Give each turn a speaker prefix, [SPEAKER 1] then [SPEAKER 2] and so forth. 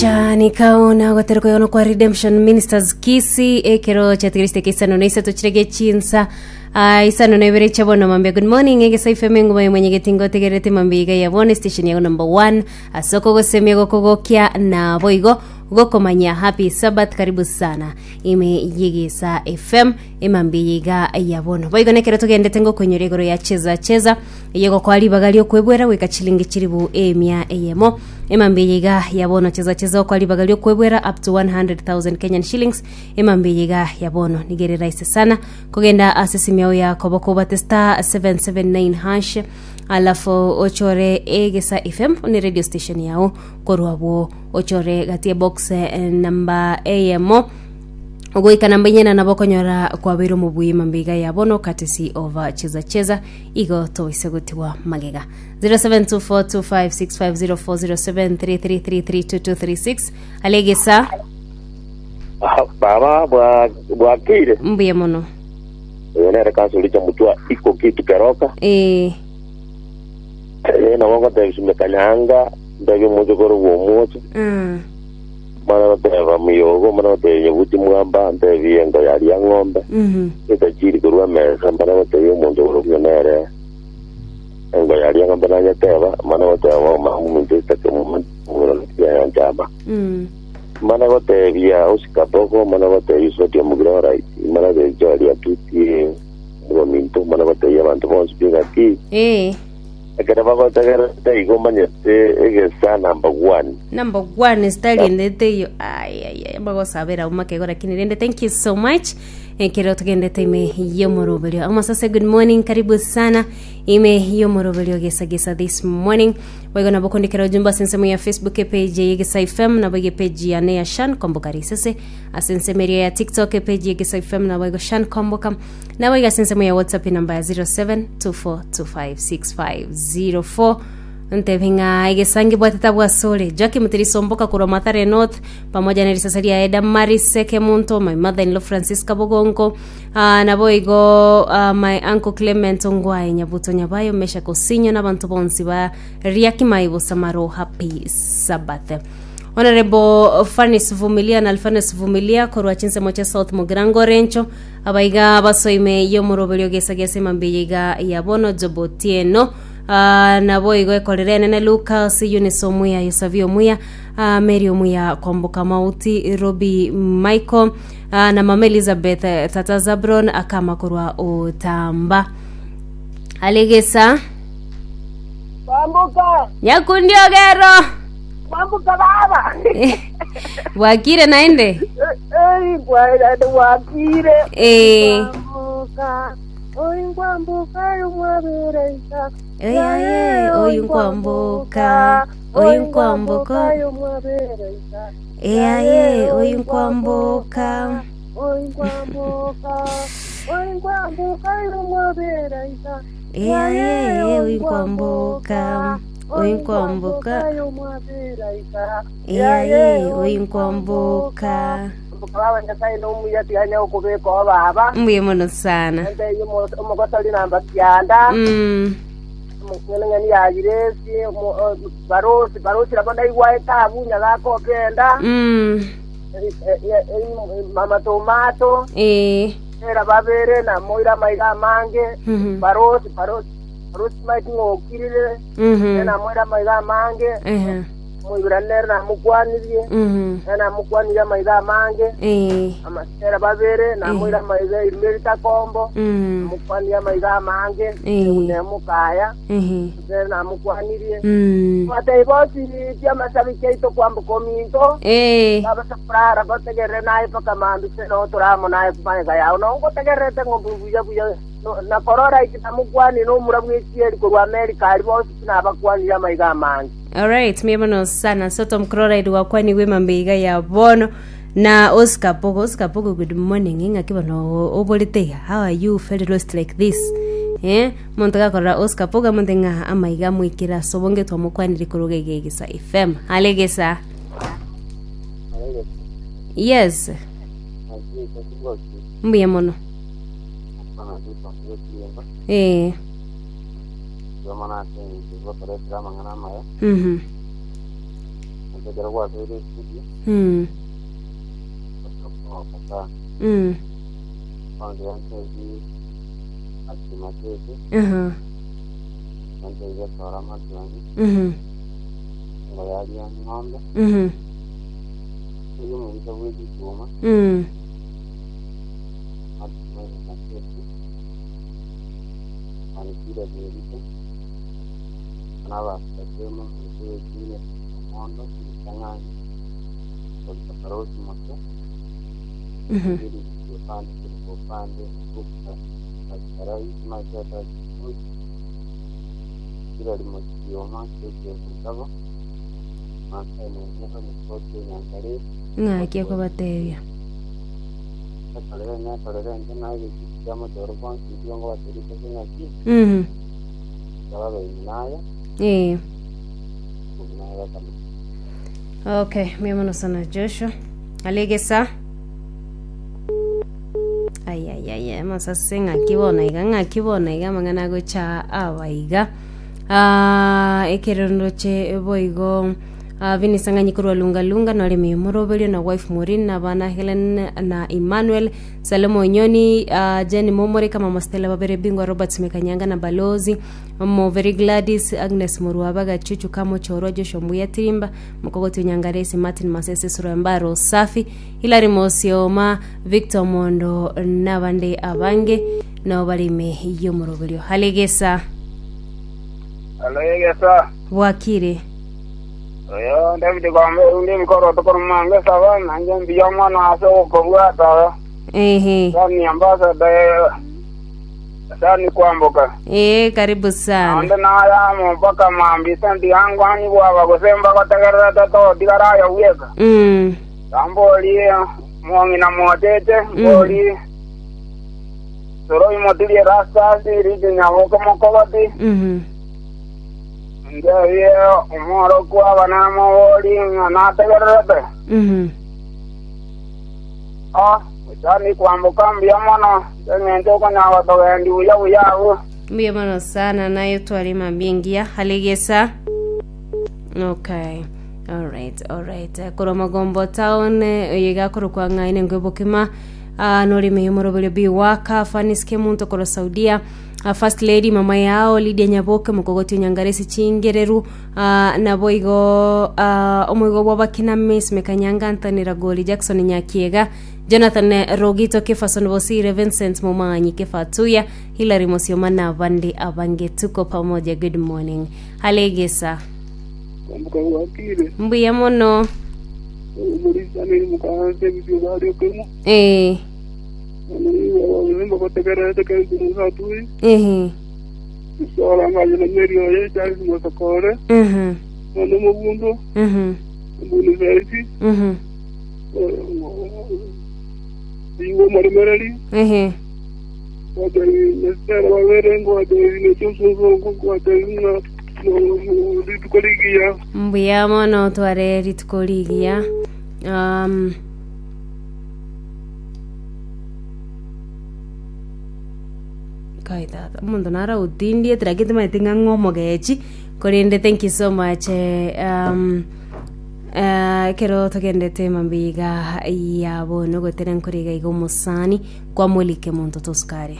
[SPEAKER 1] Shanika ona goterwa koyono kwa Redemption Ministers Kisii ekero chiatigariste keisano na isato chirege chinsa ah, isano na ibere chia bono mambia good morning egesa ifeme enguba ya mwenyegeti ngotegererete mambia iga ya bono station yago number 1 ase okogosemia gokogokia na boigo gokomanya happy sabbath karibu sana ime yegesa fm emambia iga ya bono boigo nekero togendete ngokoinyora igoro ya cheza cheza Eye gokoa ribaga ri'okwebwera goika chilingi chilifu emia eyemo. Emambia eye iga ya bono cheza cheza okoa ribaga ri'okwebwera up to 100,000 Kenyan shillings. Emambia eye iga ya bono nigo ere rahisi sana kogenda ase esimu yao ya koboko obate star 779 hash alafu ochore egesa FM ne radio station yao korwa abwo ochore gati ya box eh, namba eyemo goika namba inyena nabo okonyora kwabeire omobui mambia iga ya bono courtesy of uh, cheza cheza Igo toise gotigwa magega. 07242565040733332236 Alegesa
[SPEAKER 2] Ah, Baba bwa bwakire
[SPEAKER 1] mbuya mono.
[SPEAKER 2] oyo nere kansori cha mutwa iko kitu keroka
[SPEAKER 1] Eh,
[SPEAKER 2] eh nabo ngotebia sumeka nyanga ndebia omochokoro bwa omocho
[SPEAKER 1] mm,
[SPEAKER 2] mana goteba muyogo mana gotebia nyabuti mwamba ntebie engo yaria ng'ombe
[SPEAKER 1] mhm,
[SPEAKER 2] Etachiri korwa emesa, mana gotebia omonto orokio nere engo yaria ng'ombe nanyeteba, mana goteba mama ominto esitake yanchama.
[SPEAKER 1] mm,
[SPEAKER 2] Mana gotebia osikaboko, mana gotebia Soti omogire orait, mana gotebia Joeli atutie ominto, mana gotebia abanto bonsi pi ng'aki
[SPEAKER 1] Eh,
[SPEAKER 2] ekero bagotegerete igo omanyete egesa number one.
[SPEAKER 1] Number one style endete iyo ai ai ai magosabera umakego lakini rende thank you so much ekero tugendete ime yomoroberio amasase good morning karibu sana ime yomoroberio gesa gesa this morning boigo nabo kondikera ujumbe ase ensemo ya facebook page ya Gesa FM nabo iga page yane ya Shan Komboka Risese ase ensemo eria ya tiktok page ya Gesa FM nabo igo Shan Komboka nabo iga ase ensemo ya whatsapp namba ya 0724256504 Ntebi ng'a egesangi bwatete abwo asore. Joakim Tirisomboka korwa Mathare North pamoja na risasa riaye Damaris Sekemunto, my mother in law Francisca Bogonko, ah, naboigo ah, my uncle Clement Ongwae Nyabuto Nyabayo Meshack Osinyo na abanto bonsi ba Riakimai Bosamaro happy Sabbath. Honorable Fanis Vumilia na Alfanes Vumilia korwa chinsemo chia South Mugirango Rencho abaiga basoime yomoroberio gesa gesa emambia iga ya bono Job Otieno Ah, naboigo ekorera enene Lucas, Eunice omuya, Yosavi omuya, ah, Mary omuya, Kwamboka Mauti, Robi Michael, ah, na mama Elizabeth, eh, tata Zabron akama korwa Otamba. Alegesa
[SPEAKER 3] Kwamboka,
[SPEAKER 1] Nyakundi Ogero
[SPEAKER 3] kwamboka baba.
[SPEAKER 1] bwakire naende
[SPEAKER 3] Ei, bwaira bwakire.
[SPEAKER 1] Eh.
[SPEAKER 3] Kwamboka. Oyu nkwambuka oyu mwabereisa.
[SPEAKER 1] Eyaye, oyu nkwambuka, oyu nkwambuka.
[SPEAKER 3] oyu mwabereisa.
[SPEAKER 1] Eyaye, oyu nkwambuka.
[SPEAKER 3] Oyu nkwambuka. Oyu nkwambuka oyu mwabereisa.
[SPEAKER 1] Eyaye, oyu nkwambuka, oyu nkwambuka.
[SPEAKER 3] oyu mwabereisa.
[SPEAKER 1] Eyaye, oyu nkwambuka.
[SPEAKER 3] Mbuka baba Nyasaye nomuya tiganya okobeka oo baba.
[SPEAKER 1] Mbuya mono sana.
[SPEAKER 3] Ente omogosori namba kianda.
[SPEAKER 1] Mm.
[SPEAKER 3] Ng'eni ya Yiresi, barosi, barosi nabo ndaigwa etabu nyagaka okenda.
[SPEAKER 1] Mm.
[SPEAKER 3] Mama Tomato,
[SPEAKER 1] Eh.
[SPEAKER 3] era babere na moira amaiga amange.
[SPEAKER 1] Mhm.
[SPEAKER 3] Barosi, barosi, barosi maiti ng'okirire.
[SPEAKER 1] Mhm.
[SPEAKER 3] Na moira amaiga amange.
[SPEAKER 1] Ehe.
[SPEAKER 3] Omoiberania nere namokwanirie,
[SPEAKER 1] Mhm.
[SPEAKER 3] nere namokwanirie amaiga amange,
[SPEAKER 1] Eh.
[SPEAKER 3] amasera babere, namoire amaiga erime ritakombo,
[SPEAKER 1] Mm.
[SPEAKER 3] namokwanirie amaiga amange,
[SPEAKER 1] Eh.
[SPEAKER 3] nemokaya,
[SPEAKER 1] Ehe.
[SPEAKER 3] nere namokwanirie.
[SPEAKER 1] Mm.
[SPEAKER 3] Batebie bonsi ti'amasabiki aito kwamboka ominto,
[SPEAKER 1] Eh.
[SPEAKER 3] babase korara bategerere naye mpaka mambia ase noo tore amo naye magega yao. Noo ngotegererete ng'ombe buya buya, no- na korora inche namokwanie nomura bw'echieri korwa Amerika aria bonsi tinabakwanirie amaiga amange.
[SPEAKER 1] Alright, mbuya mono sana Soto Mcroride wakwanigwe mambe iga ya bono na Oscar Pogo Oscar Pogo good morning ing'aki bono oborete iga how are you very lost like this eh monto gakorora Oscar Pogo amonte ng'a amaiga amoikere ase obonge twamokwanire korwa iga iga Egesa FM hale Egesa yes mbuya mono eh
[SPEAKER 4] Mbuya mono ase engencho y'ogotoretera amang'ana amaya.
[SPEAKER 1] Mhm.
[SPEAKER 2] Ekero gwasoire estudio, okogoka sana. Kwanza yantebi ati matete, yantebi gesora matiang'i, ngo yaria ng'ombe, erio omobisa bwe chichuma, ati matete, anikire berite, na abasatemo omonto bw'ekiina omondo, ritang'ani, korika Farao chimote, Eri upande korwa upande Sarai kila limokioma ekebutabo Masai mwenyewe mukoti enyangaresi
[SPEAKER 1] Ng'aki okobatebia?
[SPEAKER 2] ekorere nekorere nche naye egechiko kia mochoro bonsi intwe ngobaterete ase ng'aki babe naye naye bakama.
[SPEAKER 1] Okay, mbuya mono sana Joshua. Alegesa. Ayayaya, amasase ng'aki bono iga, ng'aki bono iga amang'ana agocha aba iga. Ah, ekero ndoche boigo ah, Vinisa ng'anyi korwa Lunga Lunga nore moroberio na wife Maureen na abana Helen na Emmanuel Salomo Onyoni ah, Jenny Momoreka Mama Stella babere bingwa Robert Mekanyanga na Balozi Moveri Gladys Agnes Morwaba Gachuchu Kamochorwa Joshua Mbuya Tirimba Mokogoti Onyangaresi Martin Masese Surembaro Safi Hilary Mosioma Victor Mondo nabande abange nabo bare ime y'omoroberio. Halegesa
[SPEAKER 4] Alegesa.
[SPEAKER 1] bwakire.
[SPEAKER 4] Oyo David Gombe undi emikoro tokoromanga esaba nanje mbuya omwana ase ogokobwata
[SPEAKER 1] Ehe.
[SPEAKER 4] sani ambassador sani kwamboka
[SPEAKER 1] Eh, karibu sana.
[SPEAKER 4] ande nayamo mpaka mambisa ndigangwani bwaba gose mbagotegerera toto tigaraya bweka Ambori mong'ina motete mbori soro imotirie rasasi rije nyaboke mokogoti nderie omoro kwaba namobori ng'a nategererete ah chani kwamboka mbuya mono eng'encho okonyara gotogendi buya buya abwo.
[SPEAKER 1] Mbuya mono sana naye tware mambia engiya alegesa. Okay. Alright, alright. Korwa Magombo town oyo iga akorokwa ng'a enengo ebokima ah, norime yomoroberio biwaka Fanis Kemunto korwa Saudia ah, First Lady mama yao Lydia Nyaboke mokogoti onyangaresi chingereru ah, nabo igo ah, omoigo bw'abakina Miss Mekanyanga Anthony Ragoli Jackson Nyakiega Jonathan Rogito Kefason Bosire Vincent Momanyi Kefatuya Hilary Mosioma na abande abange tuko pamoja good morning Alegesa
[SPEAKER 5] Kwamboka gwakire,
[SPEAKER 1] mbuya mono
[SPEAKER 5] omorisaneri mokaanse ebisio bari okemo, mbagotegererete keri mosaturi, isora ngaye na meri oye Charles Mosokore, nono omobundo, ombuni saisi, igo omoremereri, ngwatebi Esther babere, ngwatebi nechosusu, ngwatebi ng'a rituko rigiya.
[SPEAKER 1] Mbuya mono tware rituko rigiya. Kai tata, omonto naro agotindiete lakini timanyeti ng'a ng'o omogechi, korende thank you so much ekero togendete mambia iga ya bono gotera nkore iga iga omosani kwamolike monto tosukare.